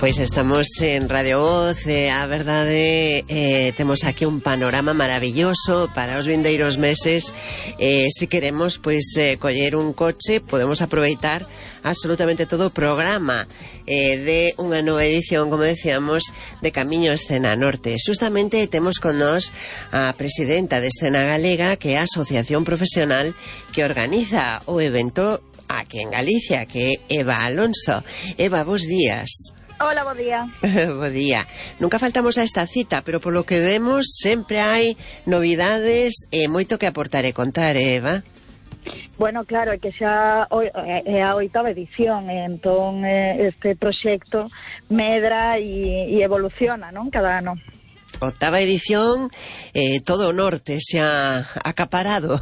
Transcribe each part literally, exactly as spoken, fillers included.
Pois estamos en Radio Voz, e a verdade eh, temos aquí un panorama maravilloso para os vindeiros meses. Eh, se queremos pois eh, coller un coche, podemos aproveitar absolutamente todo o programa eh, de unha nova edición, como decíamos, de Camiño Escena Norte. Justamente temos con nós a presidenta de Escena Galega, que é a asociación profesional que organiza o evento aquí en Galicia, que é Eva Alonso. Eva, bos días. Hola, bo día. Bo día. Nunca faltamos a esta cita, pero polo que vemos sempre hai novidades e moito que aportar e contar, Eva. Bueno, claro, é que xa é a oitava edición, entón este proxecto medra e, e evoluciona, non? Cada ano. Octava edición, eh, todo o norte xa acaparado,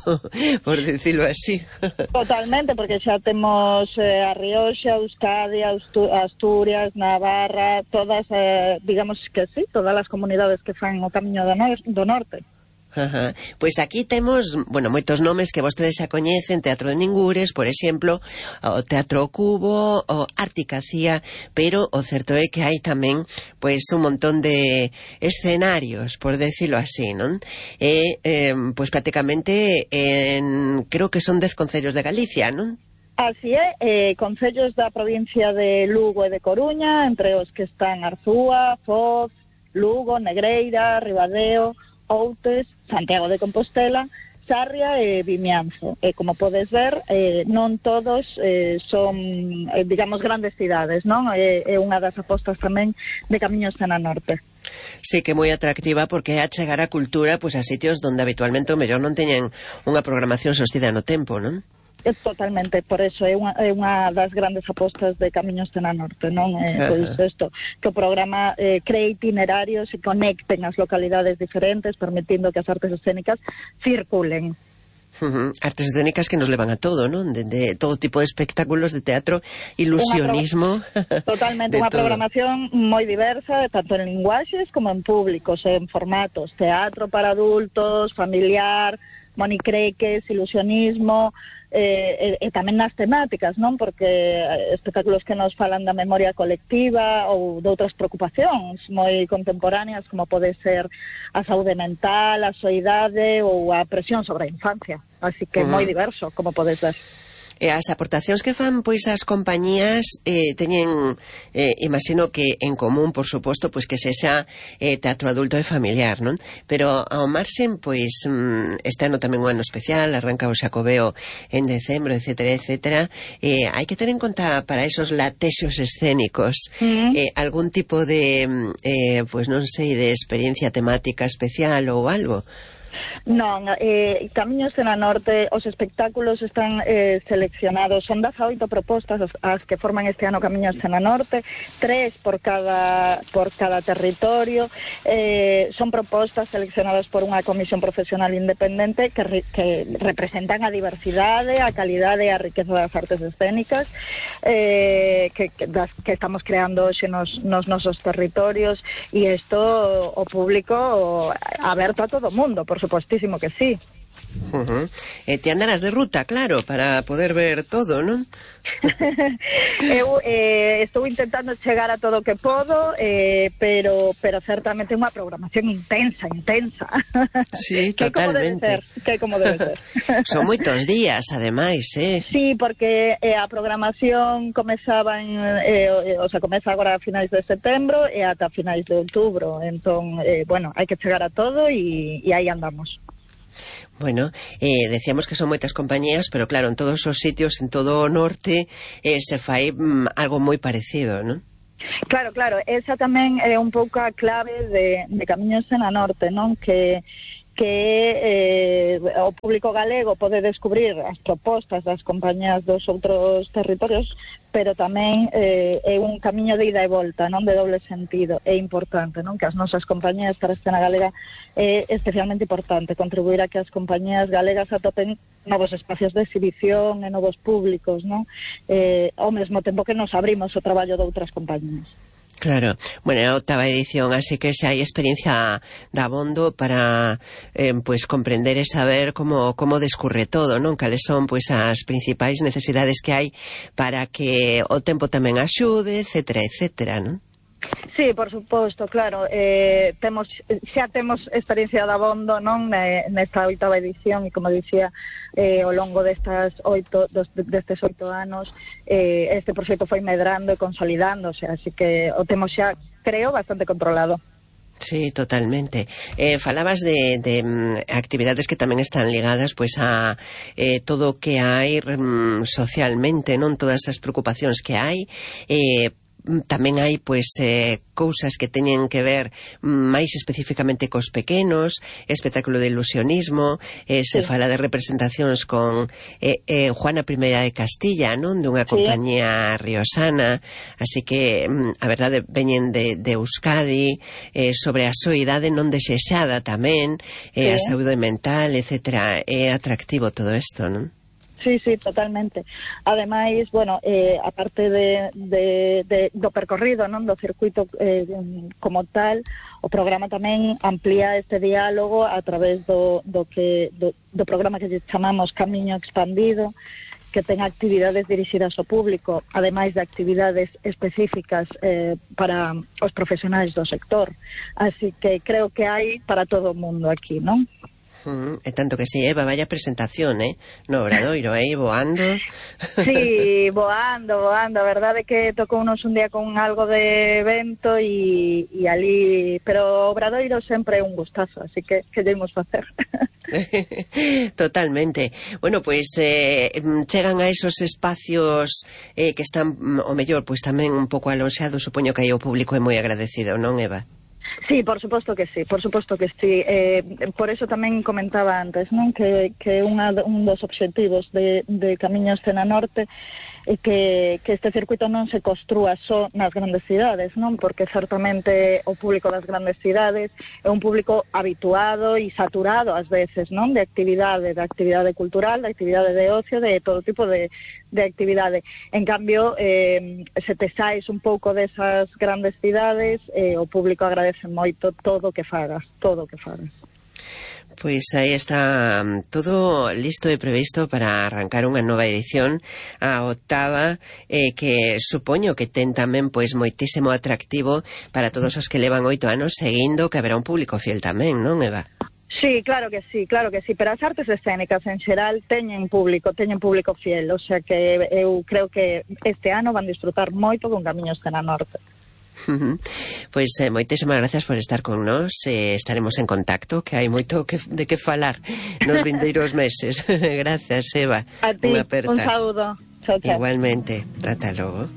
por decirlo así. Totalmente, porque xa temos eh, a Rioxa, Euskadi, Asturias, Navarra, todas, eh, digamos que sí, todas as comunidades que fan o Camiño do, no do Norte. Ajá. Pois aquí temos, bueno, moitos nomes que vostedes xa coñecen: Teatro de Ningures, por exemplo, o Teatro Cubo, o Articacía, pero o certo é que hai tamén pois un montón de escenarios, por decirlo así, non? E, eh, pois prácticamente en, creo que son dez concellos de Galicia, non? Así é, eh, concellos da provincia de Lugo e de Coruña, entre os que están Arzúa, Foz, Lugo, Negreira, Ribadeo, Outes, Santiago de Compostela, Sarria e Vimianzo. E como podes ver, eh, non todos eh, son, eh, digamos, grandes cidades, non? É, é unha das apostas tamén de Camiño Escena Norte. Sí, que é moi atractiva porque é a chegar a cultura pois a sitios onde habitualmente o mellor non teñen unha programación sostida no tempo, non? É totalmente, por eso é unha, é unha das grandes apostas de Camiño Escena Norte, non? Eh, pois isto, que o programa eh, cree itinerarios e conecten as localidades diferentes, permitindo que as artes escénicas circulen. Uh-huh. Artes escénicas que nos levan a todo, non? De, de todo tipo de espectáculos de teatro, ilusionismo. Pro... Totalmente, unha programación moi diversa, tanto en linguaxes como en públicos, en formatos, teatro para adultos, familiar, monicreques, ilusionismo, eh, e, e tamén nas temáticas, non? Porque espectáculos que nos falan da memoria colectiva ou de outras preocupacións moi contemporáneas, como pode ser a saúde mental, a soidade ou a presión sobre a infancia. Así que uh-huh. moi diverso, como podes ver. E as aportacións que fan pois as compañías eh, teñen, eh, imagino que en común, por suposto, pois que sexa eh, teatro adulto e familiar, non? Pero ao marxen, pois mm, este ano tamén un ano especial, arranca o Xacobeo en decembro, etcétera, etcétera. Eh, hai que ter en conta para esos latexos escénicos uh-huh. eh, algún tipo de, eh, pois non sei, de experiencia temática especial ou algo. Non, eh, Camiño Escena Norte, os espectáculos están eh, seleccionados, son dezaoito propostas as, as que forman este ano Camiño Escena Norte, tres por cada por cada territorio, eh, son propostas seleccionadas por unha comisión profesional independente que, re, que representan a diversidade, a calidade e a riqueza das artes escénicas eh, que, que, das, que estamos creando hoxe nos, nos nosos territorios, e isto o público o, aberto a todo o mundo, por supuestísimo que sí. Uh-huh. E te andarás de ruta, claro, para poder ver todo, non? Eu eh, estou intentando chegar a todo o que podo, eh, pero pero certamente é unha programación intensa, intensa. Sí, que totalmente. Que como debe ser. Son moitos días, ademais, eh? Sí, porque eh, a programación comezaba en, eh, o sea, comeza agora a finais de setembro e ata finais de outubro, entón, eh, bueno, hai que chegar a todo e, e aí andamos. Bueno, eh, decíamos que son moitas compañías, pero claro, en todos os sitios, en todo o norte, eh, se fai mm, algo moi parecido, non? Claro, claro, esa tamén é un pouco a clave de, de Camiño Escena Norte, non? Que que eh, o público galego pode descubrir as propostas das compañías dos outros territorios, pero tamén eh, é un camiño de ida e volta, non, de doble sentido. É importante, non, que as nosas compañías para a escena galega é especialmente importante contribuir a que as compañías galegas atopen novos espacios de exhibición e novos públicos, non, eh, ao mesmo tempo que nos abrimos o traballo de outras compañías. Claro, bueno, é a octava edición, así que xa hai experiencia de abondo para eh, pues comprender e saber como, como descurre todo, non? Cales son pues as principais necesidades que hai para que o tempo tamén axude, etcétera, etcétera, non? Sí, por suposto, claro, eh, temos, xa temos experiencia de abondo, non, nesta oitava edición, e como dicía, eh, ao longo destas oito, dos, destes oito anos, eh, este proxecto foi medrando e consolidándose, así que o temos xa, creo, bastante controlado. Sí, totalmente. Eh, falabas de, de um, actividades que tamén están ligadas pois a eh, todo o que hai um, socialmente, non, todas as preocupacións que hai, eh, tamén hai pois eh, cousas que teñen que ver máis especificamente cos pequenos, espectáculo de ilusionismo, eh, se sí. fala de representacións con eh, eh, Juana Primeira de Castilla, non, dunha compañía sí. riosana, así que a verdade veñen de, de Euskadi, eh, sobre a soidade non desexada tamén, eh, sí. a saúde mental, etcétera. É atractivo todo isto, non? Sí, sí, totalmente. Ademais, bueno, eh, aparte de, de, de, do percorrido, non, do circuito eh, como tal, o programa tamén amplía este diálogo a través do, do, que, do, do programa que chamamos Camiño Expandido, que ten actividades dirixidas ao público, ademais de actividades específicas eh, para os profesionais do sector. Así que creo que hai para todo o mundo aquí, non? Mm, é tanto que si, Eva, vaya presentación, eh? No Obradoiro, aí, eh? voando. Sí, voando, voando. A verdade é que tocou unos un día con algo de vento e, e ali... Pero o Obradoiro sempre é un gustazo, así que que debemos facer. Totalmente. Bueno, pois pues, eh, chegan a esos espacios eh, que están, o mellor, pois pues, tamén un pouco alonxados, supoño que aí o público é moi agradecido, non, Eva? Sí, por suposto que sí, por suposto que sí. Eh, por eso tamén comentaba antes, non, que, que unha, un dos obxectivos de, de Camiños Cena Norte é que, que este circuito non se construa só nas grandes cidades, non, porque certamente o público das grandes cidades é un público habituado e saturado ás veces, non, de actividade, de actividade cultural, de actividade de ocio, de todo tipo de, de actividade. En cambio, eh, se te saes un pouco desas grandes cidades, eh, o público agradece moito todo o que fagas, todo o que fagas. Pois aí está todo listo e previsto para arrancar unha nova edición, a octava, eh, que supoño que ten tamén pois moitísimo atractivo para todos os que levan oito anos seguindo, que haberá un público fiel tamén, non, Eva? Sí, claro que sí, claro que sí, pero as artes escénicas en xeral teñen público, teñen público fiel, o sea que eu creo que este ano van disfrutar moito con Camiños Cena Norte. Pois eh, moitísimas gracias por estar con nós, eh, estaremos en contacto, que hai moito que, de que falar nos vindeiros meses. Gracias, Eva. A ti, un saúdo. Chao, chao. Igualmente, ata logo.